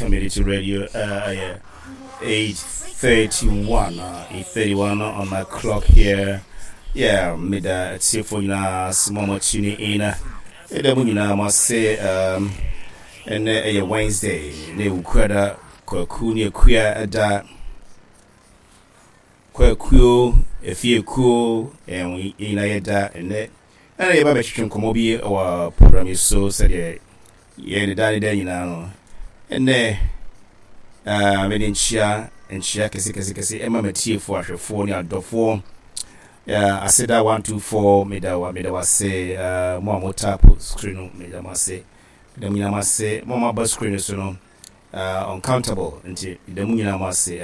Community Radio. Yeah, 8:31, 8:31 on my clock here. Yeah, meda atiefo nyinaa ase mo a mo tune in. Ɛda mu nyinaa mo ase. Ɛnɛ ɛyɛ Wednesday na Ewukuada, Kwaku ne Akua ɛda, Kwakuo Efiekuo, ɛn nyinaa yɛda. Ɛnɛ ɛna yɛba bɛtwetwe nkɔmmɔ bi wɔ program yi so sɛdeɛ yɛn ne da ne da nyinaa no. Ɛnɛ mede nkyia nkyia kɛse kɛse kɛse ɛma matiefoɔ, ahwɛfoɔ ne adɔfoɔ. Aseda 124, meda wa meda wase. Mo a mo tap screen no, meda mo ase, meda mo nyinaa mo ase. Mo a mo aba screen no so no, uncountable, nti meda mo nyinaa mo ase.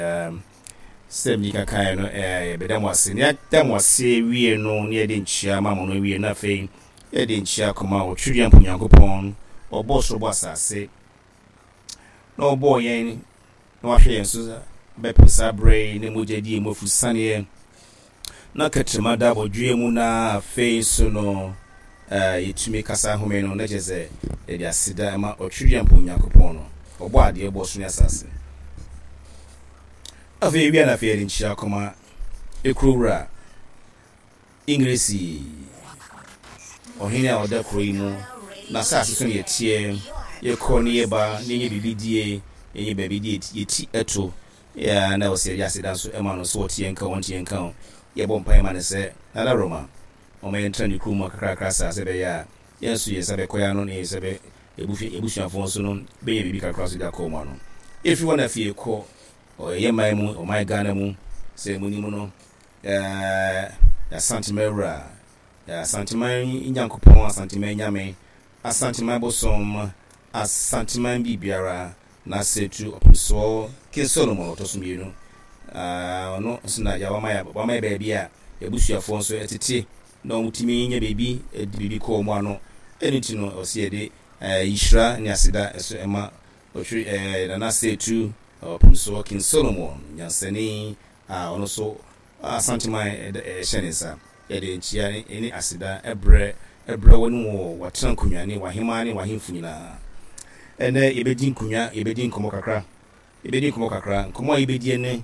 Sɛ mi kakae no, yɛbɛda mo ase ne yɛda mo ase wie no ne yɛde nkyia ma mo no wie no, afei yɛde nkyia kɔma Otwedeɛ Mpo Nyankopɔn, ɔbɔɔ soro bɔ asase na ɔbɔɔ yɛn na wahwɛ yɛn so bɛpem saa berɛ yi, ne mogya die mu afusaneɛ na kɛtrɛma da abɔdweɛ mu, na afei nso no yɛtumi kasa home no, na kyerɛ sɛ yɛde aseda ma Ɔtwedeɛ Mpo Nyankopɔn no, ɔbɔ adeɛ bɔ so ne asase. Afei wia na afei yɛde nkyia kɔma ekuro wura Ingresi, ɔhene a ɔda kuro yi mu na asase so ne yɛteɛ, yɛkɔ ne yɛba ne yɛnyɛ biribi die, yɛnyɛ baabi de yɛti ɛto yɛ, na ɔsɛ yɛde aseda nso ɛma no so. Ɔte yɛn nka, ɔnte yɛn nka o, yɛbɔ mpaeɛ ma no sɛ Nana Roma ɔma yɛntena ne kurom mu kakrakra saa, sɛ ɛbɛyɛ a yɛn nso yɛn nsa bɛkɔ yɛn ano ne yɛn nsa bɛ ebusuafoɔ nso no bɛyɛ biribi kakra so de akɔ wɔn ano. Efi hɔ na afei kɔ ɔyɛ man mu, ɔman Ghana mu. Sɛ mu nim no, Asanteman wura, Asanteman Nyankopɔn, Asanteman Nyame, Asanteman bosom, Asanteman biribiara, n'asetu Ɔpemsoɔ King Solomon ɔtɔ so mmienu. Ɔno nso na yɛ wama yɛ baabi a yɛabusuafoɔ nso ɛtete na wɔtumi nya baabi de biribi kɔ wɔn ano. Ɛno nti no ɔsi yɛde yihyira ne aseda ɛso ɛma ɔtwe Nana Setu Ɔpemsoɔ King Solomon nyansani a ɔno nso Asanteman ɛhyɛ ne nsa. Yɛde nkyia ne aseda ɛbrɛ wɔn wɔ wɔatena nkonnwa ne wahema ne wahemfo nyinaa. Ɛnɛ yɛbɛdi nkonnwa, yɛbɛdi nkɔmmɔ kakra, yɛbɛdi nkɔmmɔ kakra. Nkɔmmɔ a yɛbɛdi ne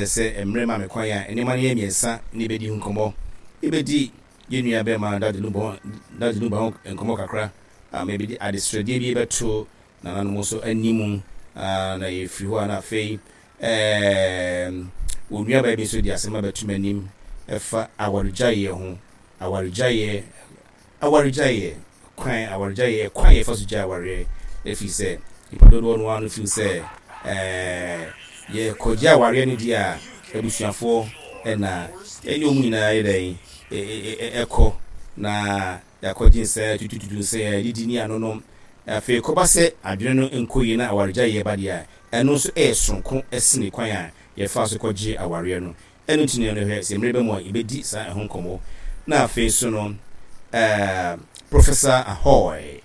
sɛ mmerɛ ma me kwan a, nneɛma no yɛ mmiɛnsa ne yɛbɛdi ho nkɔmmɔ. Yɛbɛdi yɛn nua bɛrima Daddy Lumba ho nkɔmmɔ kakra ama yɛbɛdi adesrɛdeɛ bi bɛto nananom nso anim, na yɛfiri hɔ a na afei wɔn nuabaa bi nso de asɛm abɛto m'anim ɛfa awaregyaeɛ ho. Awaregyaeɛ, awaregyaeɛ kwan, awaregyaeɛ kwan yɛfa so gya awareɛ, ɛfiri sɛ nipa dodoɔ no ara no feel sɛ yɛkɔgye awareɛ no deɛ a, abusuafoɔ ɛna ɛne wɔn nyinaa yɛ dɛn ɛkɔ na yɛakɔgye nsa tutututu nsa, yɛdidi ne anonom. Afei kɔba sɛ adwene no nkɔ yie na awaregyaeɛ ba deɛ a, ɛno nso ɛyɛ soronko ɛsene kwan a yɛfa so kɔgye awareɛ no. Ɛno nti no hwɛ sɛ mmerɛ bɛ mu a yɛbɛdi saa ɛho nkɔmmɔ. Na afei so no Professor Ahoy,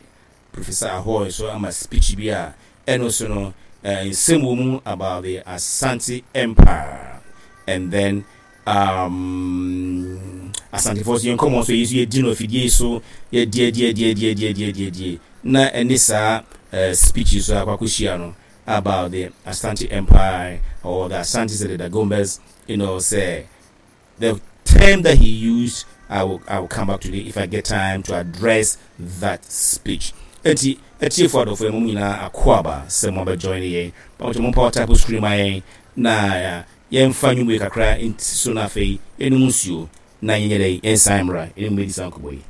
Professor Ahoy nso ama speech bi a ɛno so no nsɛm wɔ mu about the Asante Empire and then Asantefoɔ so yɛn nkɔmmɔ nso yi nso yɛdi no afidie yi so, yɛdi adi adi adi adi adi adi adi na ɛne saa speech yi so akɔ akɔhyia no about the Asante Empire or the Asantes and the Dagombas. Say the term that he used, I will come back to it if I get time to address that speech. Eti etiefo adɔfo, yɛn mu nyinaa akɔ sɛ mo abɛjoin yɛn. Pàmò mo power type screen ma yɛn na yɛmfa nnwom yi kakra nti so, na afei yɛnum nsuo na yɛnyɛ dɛ yɛnsan mmra yɛn mu bɛdi saa nkɔmmɔ yi.